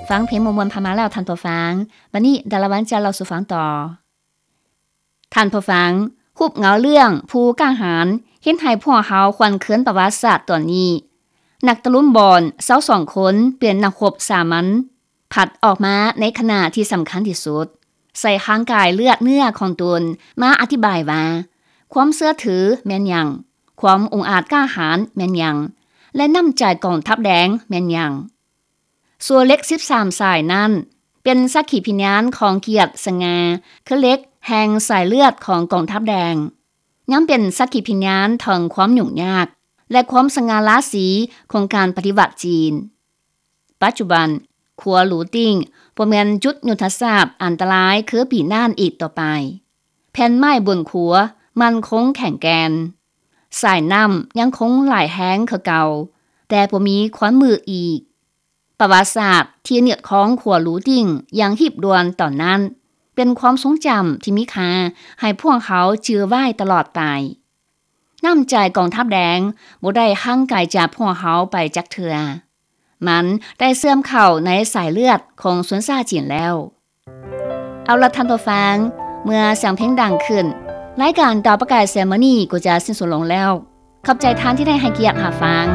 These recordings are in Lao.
ຟັງເພງມ່ວນໆຜ່ານມາແລ້ວທ່ານຜູ້ຟັງ, ບັດນີ້ດາລາວັນຈະເລົ່າສູ່ຟັງຕໍ່. ທ່ານຜູ້ຟັງ, ຮູບເງົາເລື່ອງຜູ້ກ້າຫານເຮັດໃຫ້ພວກເຮົາຄວັນເຄືອນປະຫວັດສາດຕອນນີ້. ນັກຕະລຸມບອນຊາວສອງຄົນເປັນນັກຮົບສາມັນ ພັດອອກມາໃນຂະນະທີ່ສຳຄັນທີ່ສຸດ, ໃສ່ຮ່າງກາຍເລືອດເນື້ອຂອງຕົນມາອະທິບາຍວ່າ ຄວາມເຊື່ອຖືແມ່ນຫຍັງ, ຄວາມອົງອາດກ້າຫານແມ່ນຫຍັງ ແລະ ນ້ຳໃຈກອງທັບແດງແມ່ນຫຍັງ. ສ່ວນເຫຼັກສິບສາມສາຍນັ້ນ ເປັນສັກຂີພິຍານຂອງກຽດສະຫງ່າ ຄືເຫຼັກແຫ່ງສາຍເລືອດຂອງກອງທັບແດງ, ຍັງເປັນສັກຂີພິຍານເຖິງຄວາມຫຍຸ້ງຍາກ ແລະ ຄວາມສະຫງ່າລາສີຂອງການປະຕິວັດຈີນ. ປັດຈຸບັນ, ຂົວຫຼູຕິ້ງບໍ່ແມ່ນຈຸດຍຸດທະສາດອັນຕະລາຍຄືປີນັ້ນອີກຕໍ່ໄປ. ແຜ່ນໄມ້ບົນຂົວໝັ້ນຄົງແຂງແກ່ນ. ສາຍນ້ຳຍັງຄົງໄຫຼແຮງຄືເກົ່າ, ແຕ່ບໍ່ມີຄວັນມືດອີກ. ປະຫວັດສາດທີ່ຍືດຄອງຂົວຫຼູຕິ້ງຢ່າງຮີບດ່ວນຕອນນັ້ນ ເປັນຄວາມຊົງຈຳທີ່ມີຄ່າໃຫ້ພວກເຮົາຈື່ໄວ້ຕະຫຼອດໄປ. ນ້ຳໃຈກອງທັບແດງບໍ່ໄດ້ຫ່າງໄກຈາກພວກເຮົາໄປຈັກເທື່ອ. ມັນໄດ້ເຊື່ອມເຂົ້າໃນສາຍເລືອດຂອງຊົນຊາດຈີນແລ້ວ. ເອົາລະທ່ານຜູ້ຟັງ, ເມື່ອສຽງເພງດັງຂຶ້ນ, ລາຍການດາວປະກາຍແສງມື້ນີ້ກໍຈະສິ້ນສຸດລົງແລ້ວ. ຂອບໃຈທ່ານທີ່ໄດ້ໃຫ້ກຽດຮັບຟັງ.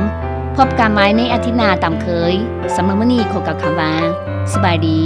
ພົບກັນໃໝ່ໃນອາທິດໜ້າຕາມເຄີຍ. ສຳລັບມື້ນີ້ຂໍກ່າວຄຳວ່າ ສະບາຍດີ.